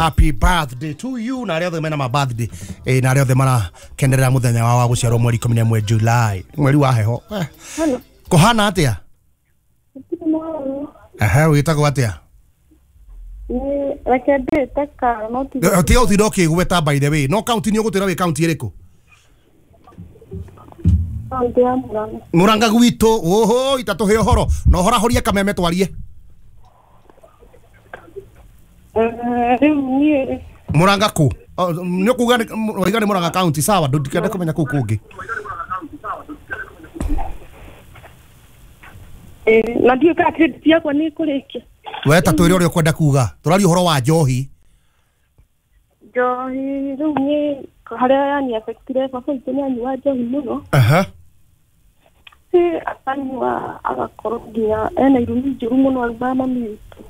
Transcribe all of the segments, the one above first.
Happy birthday to you na arĩa othe mena ma birthday na arĩa othe marakenerera mũthenya wao wa gũciarwo mweri 11 July, mweri wa heho. Kũhana atĩa? Ehe, wĩtagwo atĩa? Reke ndĩte karo no ti Tiga ũtinda ũkĩgweta by the way, no kaunti nĩ ũgũtwĩra wĩ kaunti ĩrĩkũ? Kaunti ya Murang'a. Murang'a gwitũ, oho, itatũhe ũhoro na ũhorahorie kameme twarie. Rĩu niĩ Murang'a kũ? Nĩ ũkuga waiga nĩ Murang'a kaunti, sawa, ndikenda kũmenya kũu kũngĩ. Na ndiũĩ kana credit yakwa nĩ ĩkũrĩkia. We ta twĩre ũrĩa ũkwenda kuga, tũraria ũhoro wa njohi. Njohi rĩu niĩ harĩa yani affectire baba witũ nĩ anyua njohi mũno. Aha. Akanyua agakorwo nginya ena irumi njũru mũno arumaga mami witũ.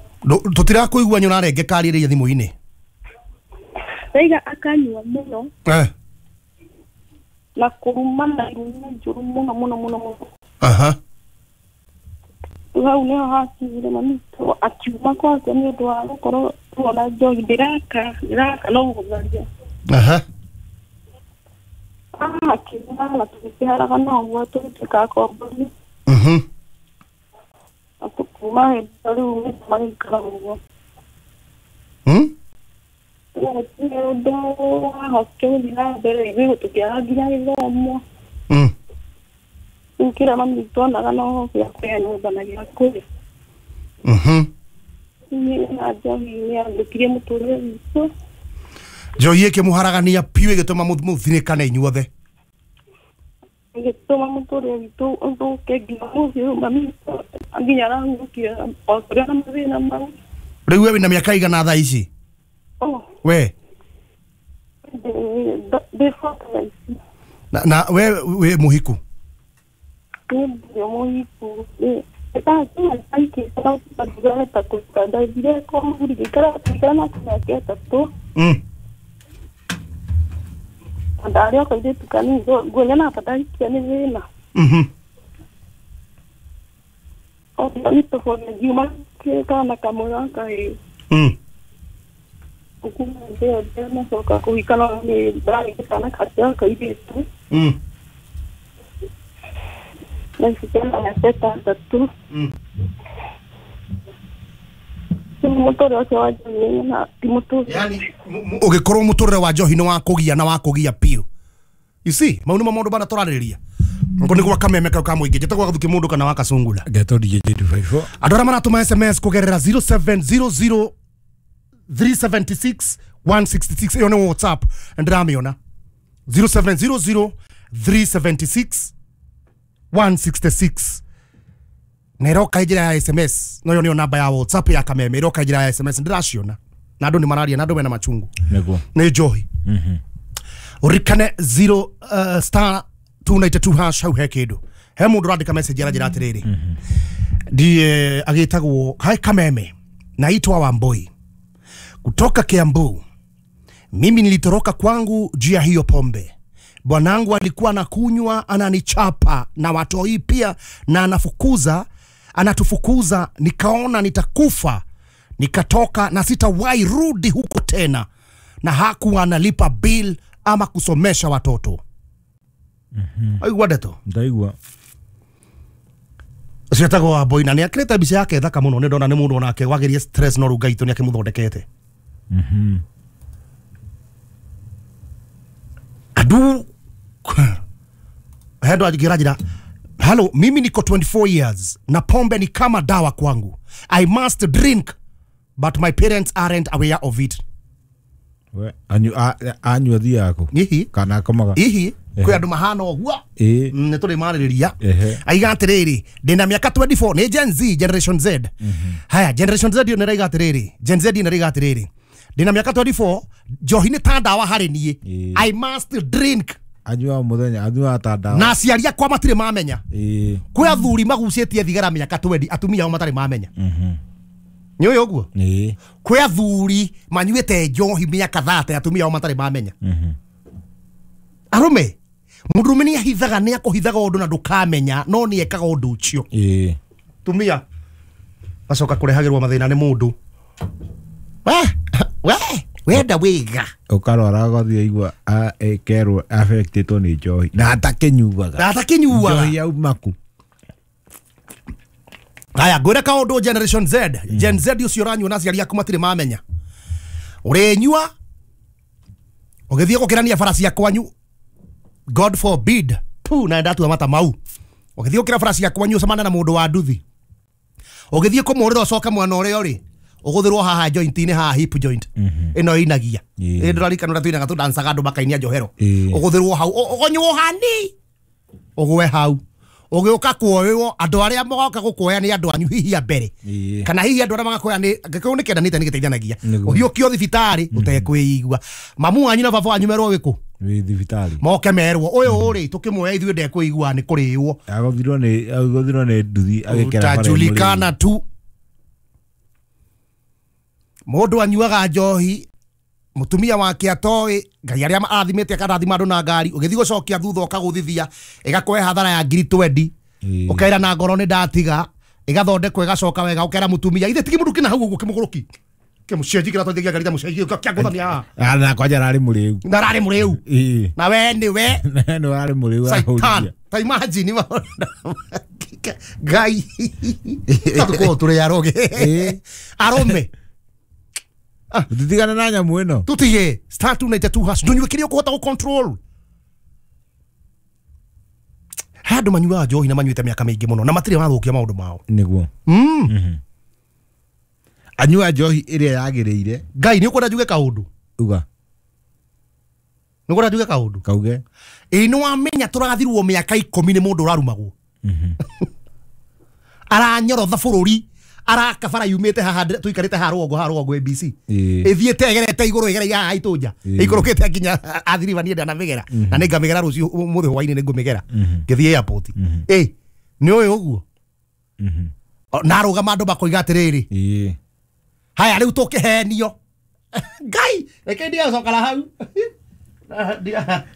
Tũtirakũigua nyũrarengeka arĩrĩria thimũ-inĩ. Raiga akanyua mũno. Na kũruma na irumi njũru mũno mũno mũno mũno. Aha. Hau nĩho hakinyire mami witũ akiuma kwake nĩ ũndũ wa gũkorwo tuona njohi ndĩraka no gũtharia. Aha. Akiuma na tũgĩkĩharaga na ũguo tũgĩtuĩka akombori. Mhm. Kuma hĩndĩ ĩyo rĩu magĩikara ũguo. Gũtirĩ ũndũ wahotire gũthiĩ na mbere ithuĩ tũkĩaga nginya gĩthomo. Rĩu kĩrĩa mami witũ onaga no gĩa kũrĩa nyũmba na gĩa kũrĩa. Niĩ na njohi nĩ yathũkirie mũtũrĩre witũ. Njohi ĩkĩmũharagania piũ ĩgĩtũma mũthinĩkane inyuothe. Ĩgĩtũma mũtũrĩre witũ ũthũke nginya ũmũthĩ ũyũ mami witũ nginya arahurũkire o tũrĩ na mathĩna mau. Rĩu we wĩna mĩaka igana thaa ici? We? Ndĩ forty thaa ici. Na we wĩ mũhiku? Niĩ ndirĩ mũhiku. Ndathire kwa mũthuri ngĩikara nake mĩaka ĩtatũ. Ndarĩ o kairĩtu kanini nguona ta ndahikia nĩ thĩna. Ngiuma kana kamwe ga kahĩĩ. Kuma hĩndĩ ĩyo ndanacoka kũhika no nĩ ndarĩ kana kangĩ ga kairĩtu. Na ici kena mĩaka ĩtandatũ. Mũtũrĩre ũcio wa njohi na ti mũtũrĩre. Yani ũgĩkorwo mũtũrĩre wa njohi nĩ wa kũgia na wa kũgia piũ. You see, mau nĩmo maũndũ marĩa tũrarĩrĩria. Ngo nĩ gwa kameme kau ka mũingĩ, njĩtagwo Gathuki mũndũ kana wa Kasungula. Ngetwo DJ 254. Andũ arĩa maratũma SMS kũgerera 0700 376 166 ĩyo nĩ WhatsApp ndĩramĩona. 0700 376 166 na ĩroka njĩra ya SMS, no ĩyo nĩyo namba ya WhatsApp ya kameme, ĩroka njĩra ya SMS ndĩraciona na andũ nĩ mararia na andũ mena machungu. Nĩguo. Nĩ njohi. Ũririkane 0 star 292 hash hau he kĩndũ. He mũndũ ũrandĩka message aranjĩra atĩrĩrĩ. Ndiye agĩtagwo hai kameme, naitwa Wamboi kutoka Kiambu. Mimi nilitoroka kwangu juu ya hiyo pombe. Bwanangu alikuwa anakunywa, ananichapa na watoi pia, na anatufukuza. Nikaona nitakufa, nikatoka na sitawahi rudi huko tena, na hakuwa analipa bill ama kusomesha watoto. Aigua ndeto? Ndaigua. Ũcio etagwo Wamboi na nĩakĩrĩte mbica yake thaka mũno, nĩ ndona nĩ mũndũ onake wagerie stress no rĩu Ngai witũ nĩakĩmũthondekete. Andu hendo angĩranjĩra, hello, mimi niko 24 years na pombe ni kama dawa kwangu. I must drink but my parents aren't aware of it. We anyua thiaga kũ? Ihi. Kana akomaga? Ihi. Kwĩ andũ mahana ũguo. Nĩ tũrĩ marĩrĩria. Aiga atĩrĩrĩ, ndĩna mĩaka 24, nĩ Gen Z, Generation Z. Haya, Generation Z ĩyo nĩ ĩraiga atĩrĩrĩ, Gen Z nĩ ĩraiga atĩrĩrĩ, ndĩna mĩaka 24, njohi nĩ ta ndawa harĩ niĩ. I must drink. Anyuaga mũthenya, anyuaga ta ndawa. Na aciari akwa matirĩ mamenya. Kwĩ athuri magucĩtie thigara mĩaka 20, atumia ao matarĩ mamenya. Nĩ ũĩ ũguo? Kwĩ athuri manyuĩte njohi mĩaka 30, atumia ao matarĩ mamenya. Arũme, mũndũrũme nĩ ahithaga, nĩ akũhithaga ũndũ na ndũkamenya, no nĩ ekaga ũndũ ũcio. Tumia gacoka kũrehagĩrwo mathĩna nĩ mũndũ. We Wenda wega. Ukarwara ũgathiĩ igua kerwo affected nĩ njohi na atakinyuaga. Na atakinyuaga. Njohi yauma kũ? Aya ngwĩre kaũndũ Generation Z. Gen Z ũcio ũranyua na aciari aku matirĩ mamenya. Ũrĩnyua ũgĩthiĩ gũkĩrania bara cia kwanyu, God forbid, tu na ndatua mata mau. Ũgĩthiĩ gũkĩra bara cia kwanyu ũcemane na mũndũ wa nduthi. Ũgĩthiĩ kũmũrĩra ũcoke mwena ũrĩa ũrĩ, ũgũthĩrwo haha joint-inĩ, haha hip joint. Ĩno ĩinagia. Ĩ ndũrarikana ũrĩa tũinaga tũdancaga andũ makainia njohero. Ũgũthĩrwo hau, ũgonywo hani. Ũgwe hau. Ũgĩũka kuoywo andũ arĩa mogoka gũkuoya nĩ andũ anyu hihi a mbere. Kana hihi andũ arĩa magakuoya nĩ angĩkorwo nĩ kĩendanĩte nĩ gĩteithanagia. Ũhiũkio thibitarĩ ũtekwĩigua. Mamu wanyu na baba wanyu merwo wĩkũ? Wĩ thibitarĩ. Moke merwo ũyũ rĩ tũkĩmuoya ithuĩ ndekwĩigua nĩ kũrĩo. Agũthirwo nĩ nduthi agĩkera bara. Utajulikana tu. Mũndũ anyuaga njohi mutumia wake atoĩ ngai arĩa arathimĩte akarathima andũ na ngari ũgĩthiĩ gũcokia thutha ũkagũthithia ĩgakũhe hathara ya ngiri 20 ũkera na ngoro nĩ ndatiga ĩgathondekwo ĩgacoka wega ũkera mutumia ithe tigi mũndũ kĩna hau ũguo kĩmũgũrũki kĩmũcenji kĩratwarithagia ngari ta mũcenji kĩangũthania haha na kwanja ararĩ mũrĩu na ararĩ mũrĩu na we nĩ we nĩ warĩ mũrĩu Satan ta imagine ngai tũkorwo tũrĩ aroge arũme tutigane na nyamũ ĩno tutige star 292 hash ndũnyue kĩrĩa ũkũhota gũ-control. He andũ manyuaga njohi na manyuĩte mĩaka mĩingĩ mũno na matirĩ mathũkia maũndũ mao nĩguo. Anyua njohi ĩrĩa yagĩrĩire. Ngai nĩ ũkwenda njuge kaũndũ? Uga. Nĩ ũkwenda njuge kaũndũ? Kauge. Ĩ nĩ wamenya tũrathirwo mĩaka 10 nĩ mũndũ ũrarumagwo. Aranyorotha bũrũri arakabara yumĩte haha tũikarĩte haha rũgongo ABC ĩthiĩte ĩgerete igũrũ ĩgereire haha itũnja ĩikũrũkĩte nginya athiriba niĩ ndanamĩgera na nĩngamĩgera rũciũ ũmũthĩ hwainĩ nĩngũmĩgera ngĩthiĩ airport. Ĩ nĩ ũĩ ũguo na arũgama andũ makoiga atĩrĩrĩ haya rĩu tũkĩhenio ngai reke ndigacokara hau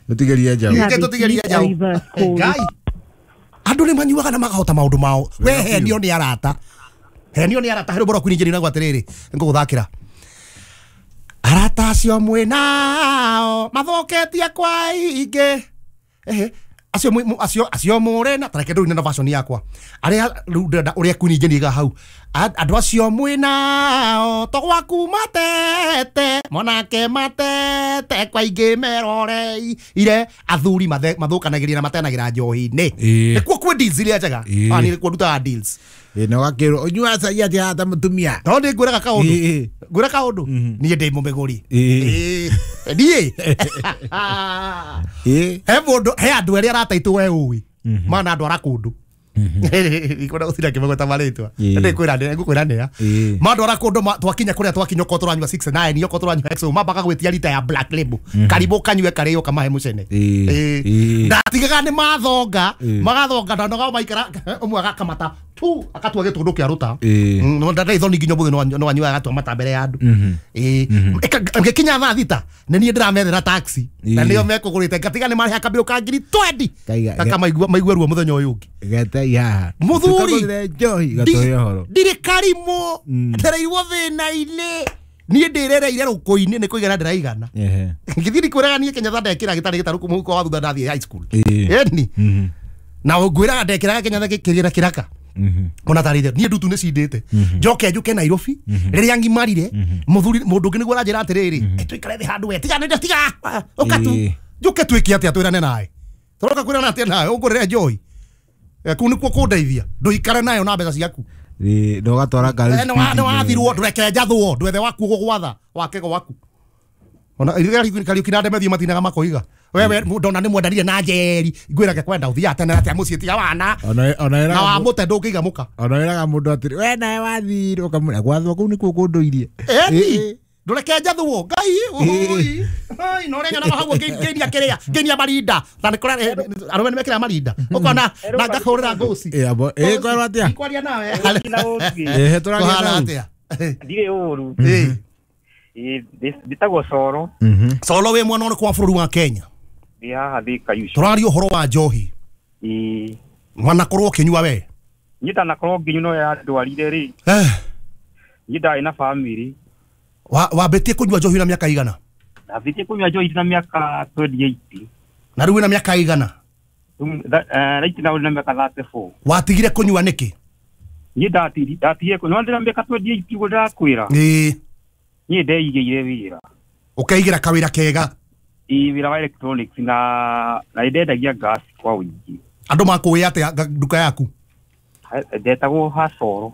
tũtigerie njaũ tũtigerie njaũ ngai andũ nĩ manyuaga na makahota maũndũ mao we henio nĩ arata henio nĩ arata harĩ ũboro kwini njĩra atĩrĩrĩ ngũgũthakĩra arata acio mwĩnao mathũkĩtie kwa ingĩ ehe acio acio mũrĩ na tareke ndũine na version yakwa arĩa rĩu ndĩrenda ũrĩa kwini njĩra hau andũ acio mwĩnao to gwaku matete monake matete kwa ingĩ meroreire athuri mathũkanagĩria na matenagĩra njohi-inĩ nĩkuo kwĩ deals iria njega niĩ nĩkuo ndutaga deals. Na wakĩrwo ũnyuaga cai atĩa haha ta mũtumia no nĩ ngwĩraga kaũndũ ngwĩra kaũndũ niĩ ndĩ mũmĩgũri niĩ he mũndũ he andũ erĩ arataitũ we ũĩ mana andũ ara kũndũ ikwenda gũtinda ngĩmagweta marĩtwa ngũkwĩra nĩa mandwara kũndũ twakinya kũrĩa twakinya okorwo tũranyua 6 9 okorwo tũranyua XO mambaga gwĩtia rita ya Black Label karibũ kanyue karĩo kamahe mũcene ndatigaga nĩ mathonga magathonga ndanoga maikara ũmwe agakamata tu akatua gĩtũndũ kĩa rũta ndarĩ thoni nginya ũmũthĩ no anyuaga agatua mata mbere ya andũ ngĩkinya thaa 6 nĩ niĩ ndĩramethera taxi na nĩo mekũgũrĩte ngatiga nĩ marĩha kabirũ ka ngiri 20 kaka maigue ruo mũthenya ũyũ ũngĩ muthuri ndirĩ karimũ ndereirwo thĩna-inĩ niĩ ndĩrereire rũkũ-inĩ nĩ kũigana ndĩraigana ngĩthiĩ ndikwĩraga niĩ Kenyatta ndekĩra gĩtarĩ gĩtarũku mũhuko wa thutha ndathiĩ high school ĩni na ngwĩraga ndekĩraga Kenyatta kĩgĩra kĩraka ona tarĩte niĩ ndutu nĩ cindĩte njoke njũke Nairobi rĩrĩa ngimarire mũthuri mũndũ ũngĩ nĩguo aranjĩra atĩrĩrĩ tũikare thĩ handũ we tiga nĩ tiga ũka tu njũke twĩke atĩa twĩrane nawe tũroka kwĩrana atĩa nawe ũngũrĩre njohi kũu nĩkuo kũndeithia ndũikare nayo na mbeca ciaku na ũgatwara ngari nĩ wathirwo ndũreke njathwo ndwethe waku gũgwatha wake gwaku ona Kariũki na Ndemethiĩ matinaga makoiga wewe ndona nĩ mwendanire na njeri ngwĩrage kwenda ũthiaga tene atĩa mũciĩ tiga wana na wamũte ndũngĩiga mũka ona wĩraga mũndũ atĩrĩ we nawe wathire ũkamwĩra gwathwo kũu nĩkuo kũndũirie ĩni ndũreke njathwo ngai oi no renya na hau ngeinia kĩrĩa ngeinia marinda na nĩ kũrĩa arũme nĩ mekĩraga marinda ũkona na ngahũrĩra ngũci ĩ kwerwo atĩa kwaria nawe tũragia atĩa ndirĩ ũru ndĩtagwo Coro Coro wĩ mwena ũrĩkũ wa bũrũri wa Kenya ndĩ haha Thika ucio tũraria ũhoro wa njohi wanakorwo ũkĩnyua we niĩ ndanakorwo ngĩnyua no yandwarire rĩ niĩ ndarĩ na bamĩrĩ Wambĩtie kũnyua njohi na mĩaka igana? Ndambĩtie kũnyua njohi na mĩaka 28. Na rĩu wĩna mĩaka igana? Right now na mĩaka 34. Watigire kũnyua nĩkĩ? Niĩ ndatigire kũnyua ndĩna mĩaka 28 ũguo ndĩrakwĩra. Ĩĩ. Niĩ ndeigĩire wĩra. Ũkeigĩra kawĩra kega? Ĩĩ, wĩra wa electronics na ndendagia gas kwa ũingĩ. Andũ makũĩ atĩa nduka yaku? Ndetagwo Hasoro.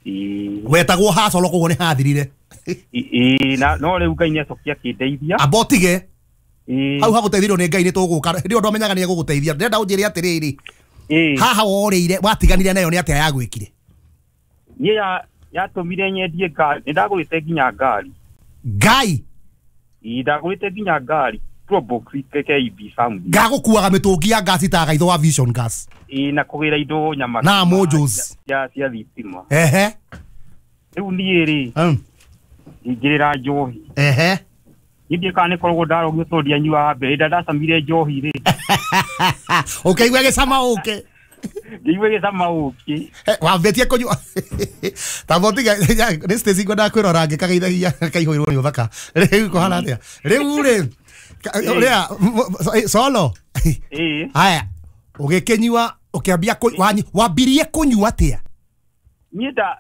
Ĩĩ. Wetagwo Hasoro koguo nĩ hathirire. Ĩĩ, na no rĩu Ngai nĩacokia akĩndeithia. Amba ũtige. Ĩĩ. Hau hagũteithirio nĩ Ngai nĩ tũgũka. Hĩndĩ ĩyo ndwamenyaga nĩ egũgũteithia. Ndĩrenda ũnjĩre atĩrĩrĩ. Ĩĩ. Haha worĩire watiganire nayo nĩ atĩa yagwĩkire? Niĩ yatũmire nyendie ngari. Nĩndagũrĩte nginya ngari. Ngai? Ĩĩ, ndagũrĩte nginya ngari. Probox KIB something. Ngagũkuaga mĩtũngi ya ngasi ta gaitho wa Vision Gas. Ĩĩ, na kũgĩra indo nyama na mojos cia thitima. Ehe. Rĩu niĩ rĩ, ingĩrĩra njohi. Ehe. Niĩ ndiĩ kana nĩkoragwo ndarogio tondũ ndianyuaga mbere. Hĩndĩ ĩrĩa ndacamire njohi rĩ. Ũkĩigua gĩcama ũkĩ. Ngĩigua gĩcama ũkĩ. Wambĩtie kũnyua. Ta botiga nĩ Stacy ngwendaga kwĩrora ngĩkageithagia kaihũirwo nĩ ũthaka. Rĩu kũhana atĩa? Rĩu rĩ, ũrĩa solo. Ĩĩ. Haya, ũgĩkĩnyua ũkĩambia wambirie kũnyua atĩa? Niĩ nda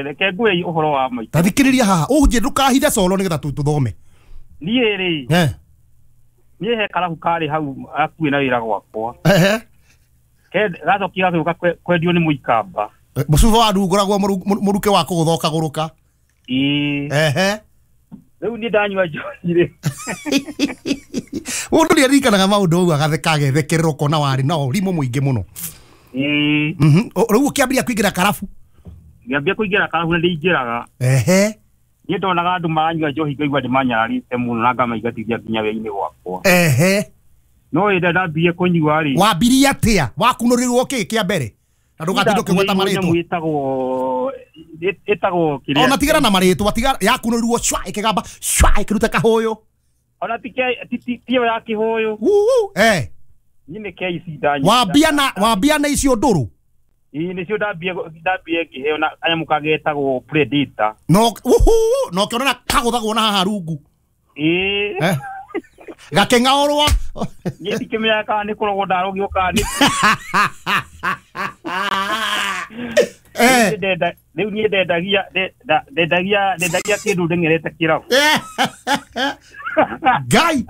reke ngwĩre ũhoro wa maitũ. Ta thikĩrĩria haha, ũnjĩ ndũkahithe solo nĩgetha tũthome. Niĩ rĩ, niĩ he karabu karĩ hau hakuhĩ na wĩra gwakwa. Ehe. Gacokia gagĩũka kwendio nĩ mũikamba. Mũcuba wa ndungũragwo mũruke wa kũgũtha ũkagũrũka. Ĩĩ. Ehe. Rĩu niĩ ndanyua njohi rĩ. Mũndũ nĩaririkanaga maũndũ ũguo agatheka agethekerera ũkona warĩ na ũrimũ mũingĩ mũno. Ĩĩ. Rĩu ũkĩambĩrĩria kũingĩra karabu? Ngĩambia kũingĩra karabu na ndĩingĩraga. Ehe. Niĩ ndonaga andũ maranyua njohi ngaigua ndĩmanyararĩte mũno na ngamaingatithia nginya wĩra-inĩ gwakwa. Ehe. No hĩndĩ ĩrĩa ndambirie kũnyua rĩ. Wambirie atĩa? Wakunũrĩrwo kĩ kĩa mbere? Na ndũgatinde ũkĩgweta marĩtwa. Ĩtagwo kĩrĩa. Ona tigana na marĩtwa, tiga yakunũrirwo cwa ĩkĩgamba cwa ĩkĩruta kahũyũ. Ona ti ĩyo ya kĩhũyũ. Eh. Niĩ nĩ KC ndanyua. Wambia na icio ndũrũ? Ĩĩ, nĩcio ndambie ngĩheo na kanyamũ kagetagwo Predator. No no ũkĩona kagũthagwo na haha rungu. Ĩĩ. Gakĩng'aũrwo. Niĩ ndikĩmenyaga kana nĩ kũrogwo ndarogio kana nĩ. Rĩu niĩ ndendagia kĩndũ ndeng'erete kĩrabu. Ngai.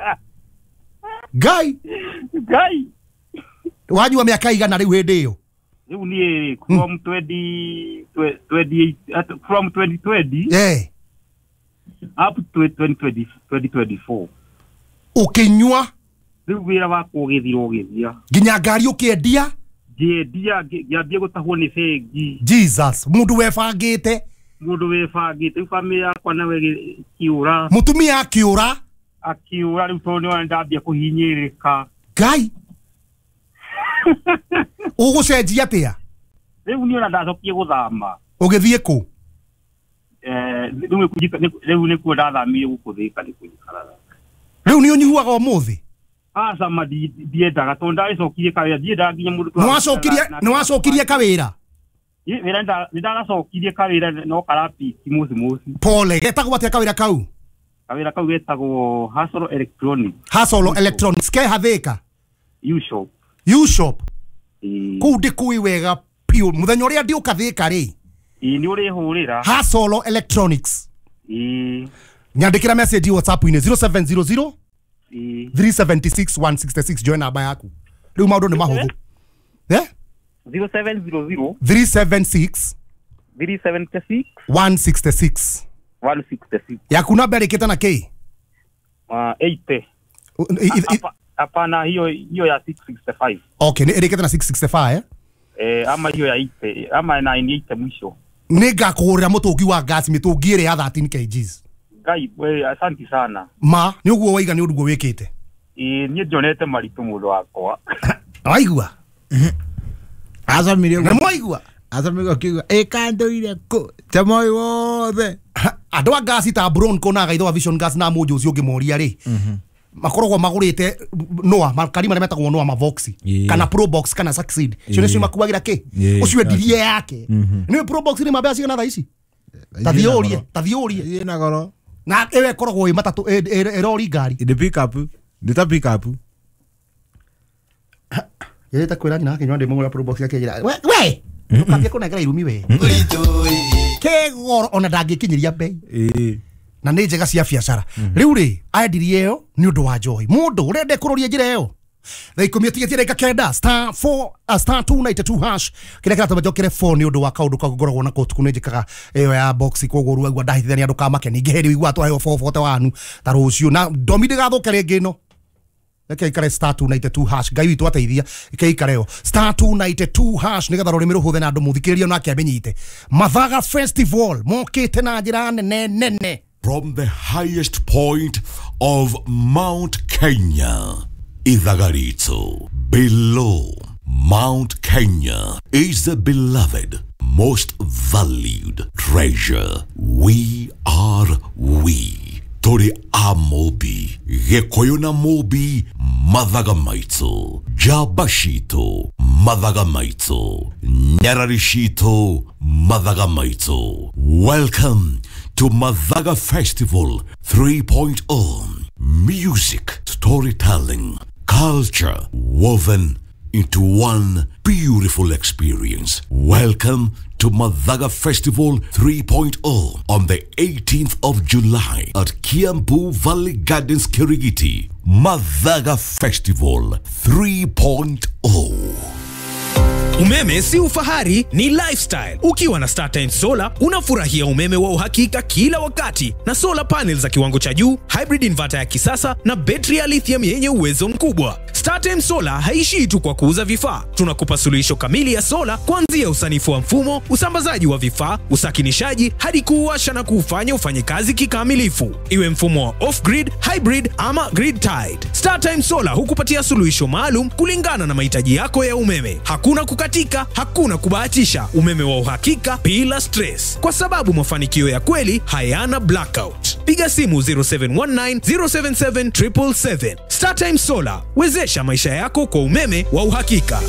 Ngai. Ngai. Wanyua mĩaka igana rĩu hĩndĩ ĩyo? Rĩu niĩ from 2020 up to 2024. Ũkĩnyua? Rĩu wĩra wakwa ũgĩthira ũgĩthira. Nginya ngari ũkĩendia? Ngĩendia ngĩambia gũtahwo nĩ bengi. Jesus, mũndũ webangĩte. Mũndũ webangĩte, rĩu bamĩrĩ yakwa nawe ĩkĩũra. Mũtumia akĩũra? Akĩũra rĩu tondũ nĩona ndambia kũhinyĩrĩrĩka. Ngai. Ũgũcenjia atĩa? Rĩu niĩ ona ndacokie gũthama. Ũgĩthiĩ kũ? Rĩu nĩkuo ndathamire gũkũ Thĩka nĩkuo njikaraga. Rĩu nĩ ũnyuaga ũmũthĩ? Aca ma ndiendaga tondũ ndagĩcokirie kawĩra, ndiendaga nginya mũndũ. Nĩwacokirie kawĩra? Wĩra nĩndagacokirie kawĩra no karapiki mũci mũci. Pole, getagwo atĩa kawĩra kau? Kawĩra kau getagwo Hasolo Electronics. Hasolo Electronics ke Hathĩka? U-Shop. U-Shop? Kũu ndĩkũĩ wega piũ. Mũthenya ũrĩa ndĩũka Thĩka rĩ? Ĩĩ, nĩ ũrĩhũrĩra. Hasolo Electronics. Ĩĩ. Nyandĩkĩra message WhatsApp-inĩ 0700 376 166 join namba yaku. Rĩu maũndũ nĩ mahũthũ. 0700 376 376 166 166. Yaku namba ĩrĩkĩte na kĩ? 80. Hapana, hiyo ya 665. Okay, ĩrĩkĩte na 665 eh? Ama hiyo ya 80, ama 98 mwisho. Nĩngakũgũrĩra mũtũngi wa gas, mĩtũngi ĩrĩa ya 13 kgs. Ngai, we asante sana. Ma, nĩ ũguo waiga nĩ ũguo wĩkĩte. Ĩĩ, niĩ ndionete maritũ mũndũ wakwa. Waigua? Acamire Na mwaigua? Acamire akiuga ĩkandoire kũ ta moĩ wothe. Andũ a ngasi ta Bronco na gaitho wa Vision Gas na mũnjũ ũcio ũngĩmoria rĩ, makoragwo magũrĩte Noah, makari marĩa metagwo Noah Mavoxi kana Probox kana Succeed. Cio nĩcio makuagĩra kĩ? Ũcio endirie yake. Nĩwe Probox nĩ mbeca cigana thaa ici? Tathiũrie, tathiũrie. Ĩ na goro. Na ĩyo ĩkoragwo ĩ matatũ ĩrori ngari. Nĩ pick up. Nĩ ta pick up. Yete kwĩra nyina akĩnyua ndĩ mũgũra Probox akĩnjĩra we we ndũkambie kũnengera irumi we. Ke goro ona ndangĩkinyĩria bei. Ĩ. Na nĩ njega cia biacara. Rĩu rĩ aendirie ĩyo nĩ ũndũ wa njohi. Mũndũ ũrenda kũroria njĩra ĩyo. Thaa 10 tigĩtie ndagĩka 9 star 4 star 292 hash kĩrĩa kĩratũma njokere 4 nĩ ũndũ wa kaũndũ kau ngoragwo nako ũtukũ nĩ njĩkaga ĩyo ya box koguo rĩu aigua ndahithania ndũkamake ningĩ hĩndĩ ũigua twaheo 441 ta rũciũ na ndomi ndĩgathũke rĩngĩ ĩno. Reke ikare star 292 hash ngai witũ ateithia ike ikare yo star 292 hash nigetha rũrĩmĩ rũhũthe na andũ mũthikĩrĩrie onake amenyite. Mathaga Festival mokĩte na njĩra nene nene. From the highest point of Mount Kenya, Ithagarito. Below Mount Kenya is the beloved, most valued treasure. We are we. Tori Amobi, Gĩkũyũ na Mũmbi, Mathaga maitũ, Njamba citũ, Mathaga maitũ, Nyarari citũ, Mathaga maitũ. Welcome to Mathaga Festival 3.0. Music, storytelling, culture woven into one beautiful experience. Welcome to Mathaga Festival 3.0 on the 18th of July at Kiambu Valley Gardens, Kirigiti. Mathaga Festival 3.0. Umeme si ufahari, ni lifestyle. Ukiwa na StarTimes Solar, unafurahia umeme wa uhakika kila wakati na solar panels za kiwango cha juu, hybrid inverter ya kisasa na betri ya lithium yenye uwezo mkubwa. StarTimes Solar haishii tu kwa kuuza vifaa. Tunakupa suluhisho kamili ya solar kuanzia usanifu wa mfumo, usambazaji wa vifaa, usakinishaji hadi kuuwasha na kuufanya ufanye kazi kikamilifu. Iwe mfumo wa off-grid, hybrid ama grid tied. StarTimes Solar hukupatia suluhisho maalum kulingana na mahitaji yako ya umeme. Hakuna kukatika, hakuna kubahatisha. Umeme wa uhakika bila stress. Kwa sababu mafanikio ya kweli hayana blackout. Piga simu 0719 077 777. StarTimes Solar, wezesha maisha yako kwa umeme wa uhakika.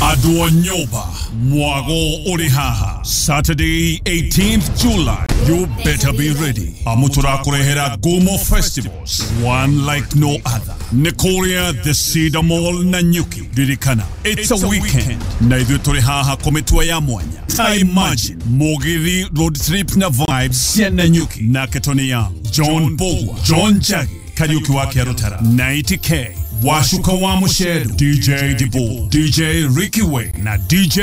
Adwo Nyoba, Mwago Orihaha, Saturday 18th July. You better be ready. Amutura Kurehera Gomo Festivals, one like no other. Nikoria the Cedar Mall Nanyuki, Ririkana. It's a weekend. Na ithuĩ tũrĩ haha kũmĩtua ya mwanya. I imagine Mugithi road trip na vibes cia Nanyuki. Nake Tony Young, John Bogwa, John Jagi, Kariuki wa Kĩarũtara, 90K, Washuka wa Musheru, DJ Dibu, DJ Ricky Way na DJ